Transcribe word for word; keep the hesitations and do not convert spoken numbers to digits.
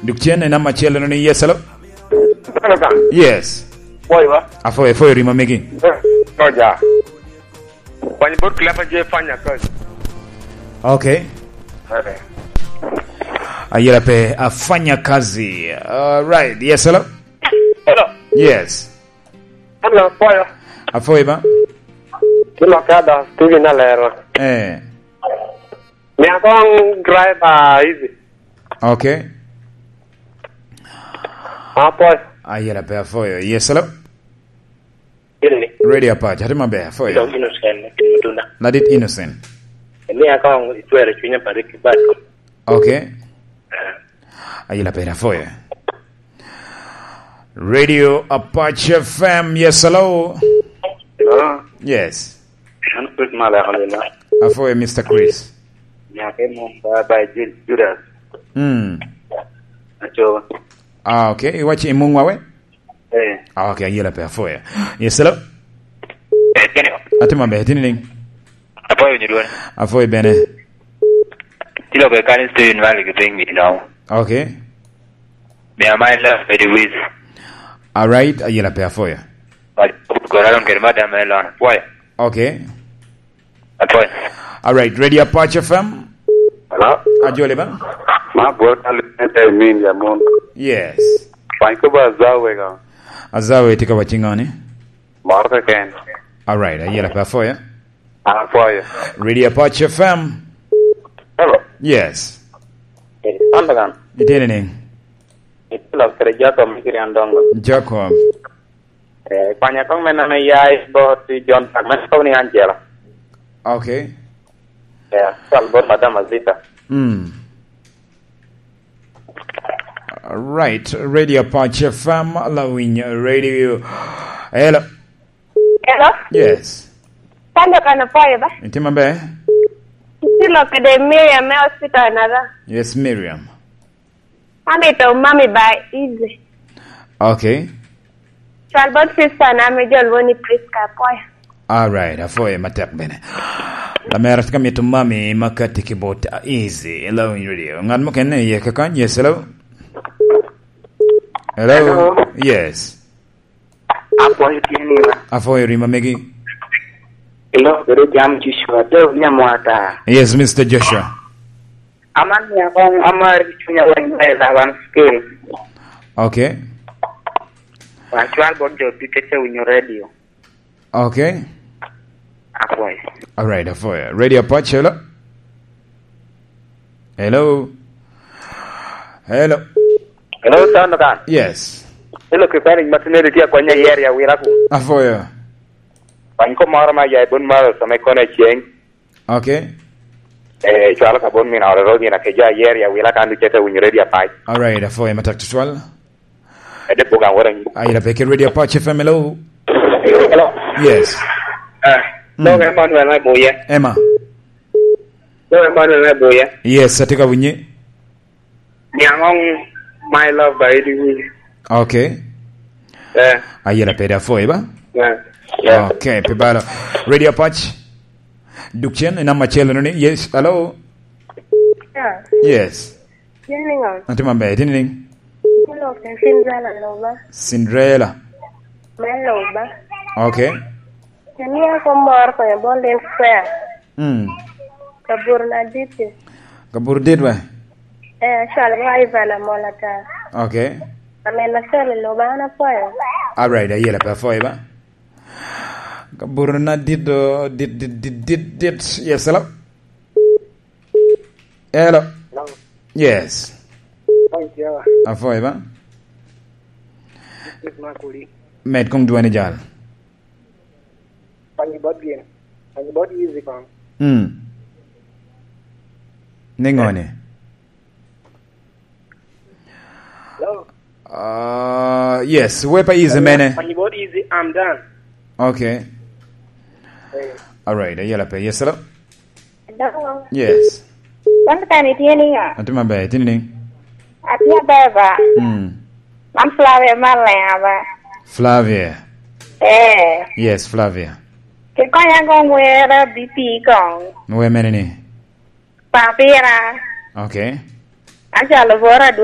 Duk cen i namba acel-lo ni, yes, hello? Hello, Sam. Yes. Pwoyo ba? Apwoyo, apwoyo rima megi. Eh, Roger. Kwany bot Clever J Fanya Kazi. Okay. Eh. Ayela pe afanya kazi. All right. Yes, hello? Hello. Yes. Hello, pwoyo. Apwoyo ba? Kilo kada, Steven Alero. Eh. Mia kong driver easy. Okay. Apwoyo. Ayela pe apwoyo. Yes, hello? Ini. Radio Apac, ati maber, apwoyo. Ito innocent, ito tuna. Ladit innocent. Mia kong itwero cwinya pa Ricky Bat. Okay. Ayela pe apwoyo. Radio Apac F M, yes, hello? Hello? Yes. An Chris Malek, alina. Apwoyo, Mister Chris. Nyaka i mum ba, ba Ju-, Judas. Mm. Aco. Ah, okay. Iwaco i mum wawe? Eh. Ah, okay, ayela pe apwoyo. Yes, hello? Eh, kene. Ati maber, itye nining? Apwoyo winyo dwol. Apwoyo bene. Tye lok i Karen Steven Malik i piny mi dong. Okay. Mia my love, Eddie Wiz. All right, ayela pe apwoyo. But, Goralon kede madam me lon. Apwoyo. Okay. Apwoyo. All right, Radio Apac F M. Hello? Ajoli ba? Ma bot alweny te min ya mon. Yes. Pany ko ba Azawe ka. Azawe tye ka wacci ŋo ni? Moro keken. All right, ayela pe apwoyo. Apwoyo. Radio Apac F M. Hello. Yes. Eh, Sandagan. Itye nining? Itye lok kede Jacob me Kirian Dongo. Jacob. Eh, kwanya kong men ame ya i bot i John Park, men kobo ni Angela. Okay. Eh, cal bot Madam Azita. Mm. All right. Radio Apac F M, Lawiny Radio. Hello. Hello? Yes. Sandagan, apwoyo ba? Itye maber? Itye lok kede Miriam me hospital naka? Yes, Miriam. Amito mami ba easy. Okay. Cwal bot sister na me jol woni Prisca, apwoyo. All right, apwoyo matek bene. Lamera tye ka mito mami ma kati ki bot, uh, easy. Hello, Radio. Ngat mukene iye kakany? Yes, hello? Hello? Hello? Yes. Apwoyo tye ni ba? Apwoyo rima megi. Ilo bedo jam Joshua, de onya mwata. Yes, Mister Joshua. Aman ni akong amar cunya weng ba ila wan skill. Okay. Wa cwal bot jo ducu te winyo radio. Okay. Apwoyo. All right, apwoyo. Radio Apac, hello? Hello? Hello? Hello, Sandagan. Yes. Hello, kipani matineri tye akwanya yer ya wira ku. Apwoyo. Kwany ko moro ma ya i bun maro sa me kono aceng. Okay. Eh, cwalo ka bon mina oro rogi na ke ja yer ya wira kan ducu te winyo Radio Apac. All right, apwoyo matek tutwal. Ede buga wora ni. Ayira pe ki Radio Apac F M, hello. Hello. Yes. Eh, mm. Dok Emmanuel me Buye. Emma. Dok Emmanuel me Buye. Yes, atye ka winyi. Niaŋ oŋ my love by Eddie Williams. Okay. Eh. Ayira pe da foi ba? Eh. Yeah. Okay, pi balo. Radio Apac. Duk cen i namba acel ni. Yes, hello. Yeah. Yes. Yin niŋo? Atye maber, itye niŋ? Yin lok Cinderella Loba. Cinderella. Me Loba. Okay. Yin ni ako mor ko ya bol den fair. Mm. Kabur na dit. Kabur dit ba? Eh, acwal ba Ivan Amola ta. Okay. Amen, acwal Loba, an apwoyo. All right, ayela pe apwoyo ba. Kabur na dit do, dit, dit, dit, dit, dit. Yes, hello? Hello. Hello. Yes. Thank you. Apwoyo ba? This is Makuli. Med kong dwani jal. Thank you, but again. Thank you, but easy, man. Hmm. Niŋo ni? Hello. Uh, yes, wepa is mene. Thank you, but easy, I'm done. Okay. Eh. All right, ayela pe. Yes, hello? Hello. Yes. Wan kan itye niŋo? Atye maber, itye niŋ? Atye maber ba. Mm. Man Flavia Malema ba. Flavia. Eh. Yes, Flavia. Kikonya kong wera B P kong. Wer mene ni? Papira. Okay. Acalo bora dwong.